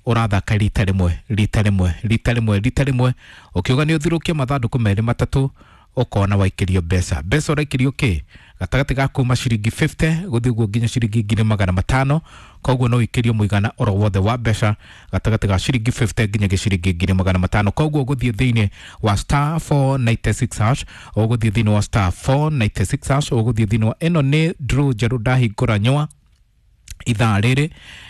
Ũrathaka rita rĩmwe, rita rĩmwe, rita rĩmwe, rita rĩmwe, ũkiuga nĩ ũthirũkie mathandũkũ merĩ matatũ, ũkona waikĩrio mbeca. Mbeca ũraikĩrio kĩ? Gatagatĩ ga kuma ciringi 50 gũthiĩ ũguo nginya ciringi 500,000. Koguo no ũikĩrio mũigana oro wothe wa mbeca gatagatĩ ga ciringi 50 nginya ciringi 500,000. Koguo ũgũthiĩ thĩinĩ wa star 496 hash, ũgũthiĩ thĩinĩ wa star 496 hash, ũgũthiĩ thĩinĩ wa ĩno nĩ draw njerũ ndahingũra nyũa ithaa rĩrĩ.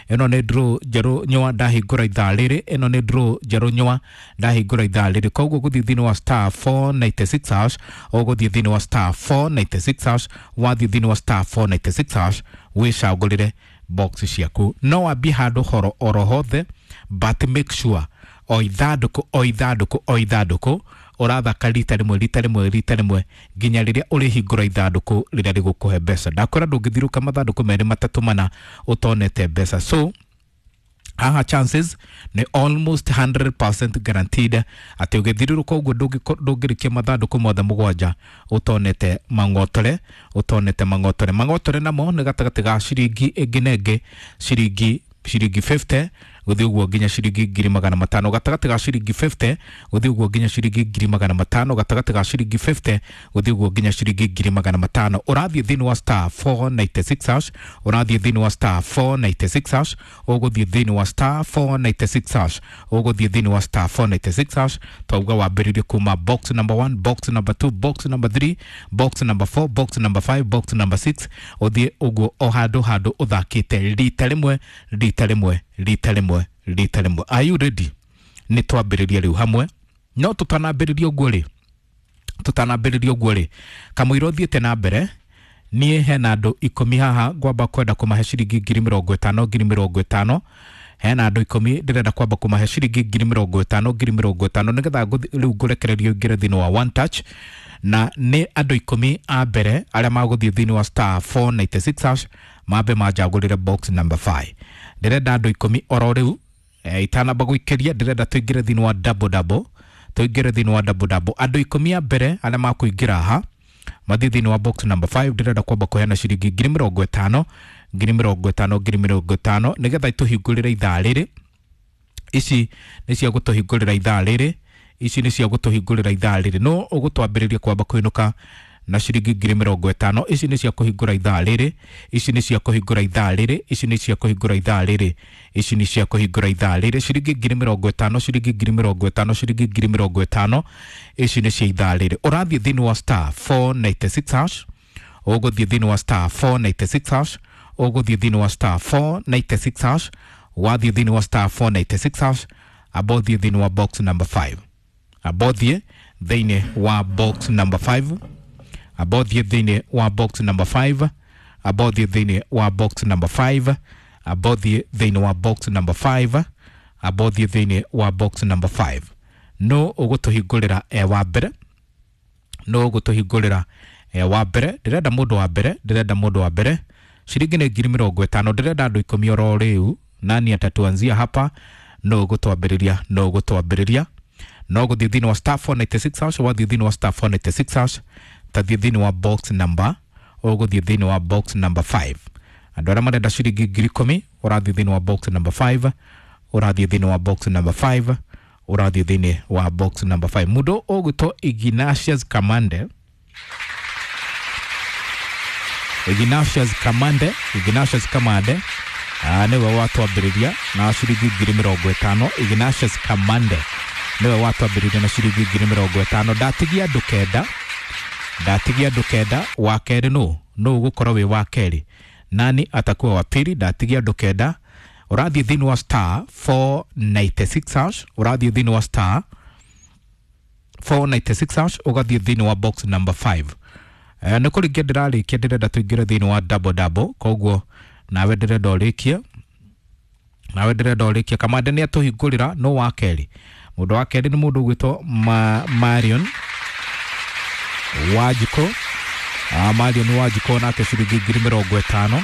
Ĩno nĩ draw njerũ nyũa ndahingũra ithaa rĩrĩ. Ĩno nĩ draw njerũ nyũa ndahingũra ithaa rĩrĩ. Koguo gũthiĩ thĩinĩ wa star 496 hash, ũgũthiĩ thĩinĩ wa star 496 hash. Wathiĩ thĩinĩ wa star 496 hash, wĩcagũrĩre box ciaku. No wambie handũ horo oro hothe, but make sure o ithandũkũ, o ithandũkũ, o ithandũkũ ũrathaka rita rĩmwe, rita rĩmwe, rita rĩmwe, nginya rĩrĩa ũrĩhingũra ithandũkũ rĩrĩa rĩgũkũhe mbeca. Ndakwĩra ndũngĩthirũka mathandũkũ merĩ matatũ mana ũtonete mbeca. So haha chances nĩ almost 100% guaranteed atĩ ũgĩthiũrũrũka ũguo ndũngĩrĩkia mathandũkũ mothe mũgwanja ũtonete mang'otore, ũtonete mang'otore. Mang'otore namo nĩ gatagatĩ ga ciringi ĩngĩ na ĩngĩ, ciringi 50 gũthiĩ ũguo nginya ciringi 500,000. Gatagatĩ ga ciringi 50 gũthiĩ ũguo nginya ciringi 500,000. Gatagatĩ ga ciringi 50 gũthiĩ ũguo nginya ciringi 500,000. Ũrathiĩ thĩinĩ wa star 496 hash, ũrathiĩ thĩinĩ wa star 496 hash, ũgũthiĩ thĩinĩ wa star 496 hash, ũgũthiĩ thĩinĩ wa star 496 hash. Twauga wambĩrĩrie kuma box number 1, box number 2, box number 3, box number 4, box number 5, box number 6, ũthiĩ ũguo o handũ handũ ũthakĩte rita rĩmwe, rita rĩmwe, rita rĩmwe, rita rĩmwe. Are you ready? Nĩ twambĩrĩria rĩu hamwe. No tũtanambĩrĩria ũguo rĩ, tũtanambĩrĩria ũguo rĩ, kamũira ũthiĩte na mbere, niĩ hena andũ 10 haha ngwamba kwenda kũmahe ciringi 50,000, 50,000. Hena andũ 10 ndĩrenda kwamba kũmahe ciringi 50,000, 50,000, nĩgetha rĩu ngũrekererio ingĩre thĩinĩ wa one touch. Na nĩ andũ 10 a mbere arĩa magũthiĩ thĩinĩ wa star 496 hash mambe manjagũrĩre box number 5. Ndĩrenda andũ 10 oro rĩu, itanamba gũikĩria ndĩrenda tũingĩre thĩinĩ wa double double, tũingĩre thĩinĩ wa double double. Andũ 10 a mbere arĩa makũingĩra haha mathiĩ thĩinĩ wa box number 5, ndĩrenda kwamba kũheana ciringi 50,000, 50,000, 50,000, nĩgetha itũhingũrĩre ithaa rĩrĩ. Ici nĩ cia gũtũhingũrĩra ithaa rĩrĩ. Ici nĩ cia gũtũhingũrĩra ithaa rĩrĩ. No ũgũtwambĩrĩria kwamba kũinũka na ciringi 50,000. Ici nĩ cia kũhingũra ithaa rĩrĩ. Ici nĩ cia kũhingũra ithaa rĩrĩ. Ici nĩ cia kũhingũra ithaa rĩrĩ. Ici nĩ cia kũhingũra ithaa rĩrĩ. Ciringi 50,000, ciringi 50,000, ciringi 50,000. Ici nĩ cia ithaa rĩrĩ. Ũrathiĩ thĩinĩ wa star 496 hash, ũgũthiĩ thĩinĩ wa star 496 hash, ũgũthiĩ thĩinĩ wa star 496 hash. Wathiĩ thĩinĩ wa star 496 hash, amba ũthiĩ thĩinĩ wa box number 5, amba ũthiĩ thĩinĩ wa box number 5, amba ũthiĩ thĩinĩ wa box number 5, amba ũthiĩ thĩinĩ wa box number 5, amba ũthiĩ thĩinĩ wa box number 5, amba ũthiĩ thĩinĩ wa box number 5. No ũgũtũhingũrĩra e wa mbere? No ũgũtũhingũrĩra e wa mbere? Ndĩrenda mũndũ wa mbere, ndĩrenda mũndũ wa mbere. Ciringi nĩ 50,000. Ndĩrenda andũ 10 oro rĩu. Nani atatuanzia hapa? No ũgũtwambĩrĩria? No ũgũtwambĩrĩria? No gũthiĩ thĩinĩ wa star 496 hash. Wathiĩ thĩinĩ wa star 496 hash, tathiĩ thĩinĩ wa box number, ũgũthiĩ thĩinĩ wa box number 5. Andũ arĩa marenda ciringi 10,000, ũrathiĩ thĩinĩ wa box number 5, ũrathiĩ thĩinĩ wa box number 5, ũrathiĩ thĩinĩ wa box number 5. Mũndũ ũgwĩtwo Ignatius Kamande, Ignatius Kamande, Ignatius Kamande nĩwe watwambĩrĩria na ciringi 50,000. Ignatius Kamande nĩwe watwambĩrĩria na ciringi 50,000. Ndatigia andũ 9, ndatigia andũ 9. Wa kerĩ nũ? Nũ ũgũkorwo wĩ wa kerĩ? Nani atakuwa wa pili? Ndatigia andũ 9. Ũrathiĩ thĩinĩ wa star 496 hash, ũrathiĩ thĩinĩ wa star 496 hash, ũgathiĩ thĩinĩ wa box number 5. Nĩ kũrĩkia ndĩrarĩkia, ndĩrenda tũingĩre thĩinĩ wa double double. Koguo nawe ndĩrenda ũrĩkie, nawe ndĩrenda ũrĩkie. Kamande nĩ atũhingũrĩra. No wa kerĩ, mũndũ wa kerĩ nĩ mũndũ ũgwĩtwo Marion Wanjikũ. Marion Wanjikũ nake ciringi 50,000.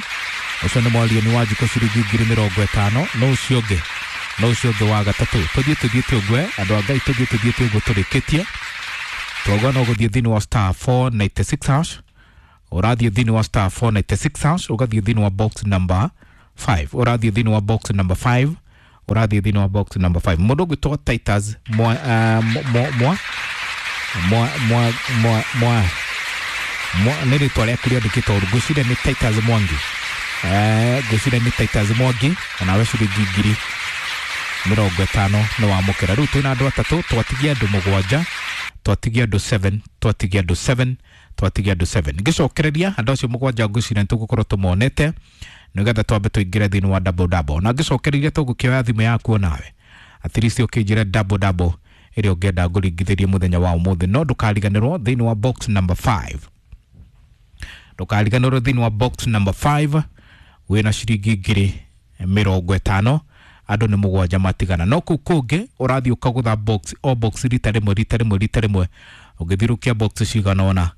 Ũcio nĩ Marion Wanjikũ, ciringi 50,000. No ũcio ũngĩ, no ũcio ũngĩ wa gatatũ. Tũthiĩ, tũthiĩte ũguo, andũ a Ngai, tũthiĩ, tũthiĩte ũguo tũrĩkĩtie. Twauga no gũthiĩ thĩinĩ wa star 496 hash, ũrathiĩ thĩinĩ wa star 496 hash, ũgathiĩ thĩinĩ wa box number 5, ũrathiĩ thĩinĩ wa box number 5. Ũrathiĩ thĩinĩ wa box number 5. Mũndũ ũgwĩtwo Titus mwa mwa mwa mwa mwa mwa mwa mwa nĩ rĩtwa rĩaku rĩandĩkĩtwo ũru. Ngwĩciria nĩ Titus Mwangi. Ngwĩciria nĩ Titus Mwangi, onawe ciringi 50,000 nĩ wamũkĩra. Rĩu twĩna andũ atatũ, twatigia andũ mũgwanja, twatigia andũ 7, twatigia andũ 7, twatigia andũ 7. Ngĩcokereria andũ acio mũgwanja, ngwĩciria nĩ tũgũkorwo tũmonete nĩgetha twambe tũingĩre thĩinĩ wa double double. Na ngĩcokereria tũgũkĩoya thimũ yaku onawe at least ũkĩnjĩre double double ĩrĩa ũngĩenda ngũringithĩrie mũthenya wa ũmũthĩ. No ndũkariganĩrwo thĩinĩ wa box number 5, ndũkariganĩrwo thĩinĩ wa box number 5 wĩna ciringi 50,000. Andũ nĩ mũgwanja matigana, no kũu kũngĩ ũrathiĩ ũkagũtha box o box rita rĩmwe, rita rĩmwe, rita rĩmwe. Ũngĩthirũkia box cigana ũna,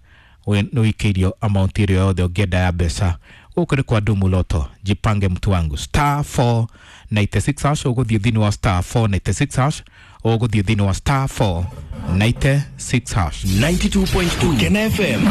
nĩ ũikĩirio amount ĩrĩa yothe ũngĩenda ya mbeca. Gũkũ nĩ kwa Dumu Lotto. Jipange mtu wangu, star 496 hash. Ũgũthiĩ thĩinĩ wa star 496 hash, ũgũthiĩ thĩinĩ wa star 496 hash. 92.2 Kena FM.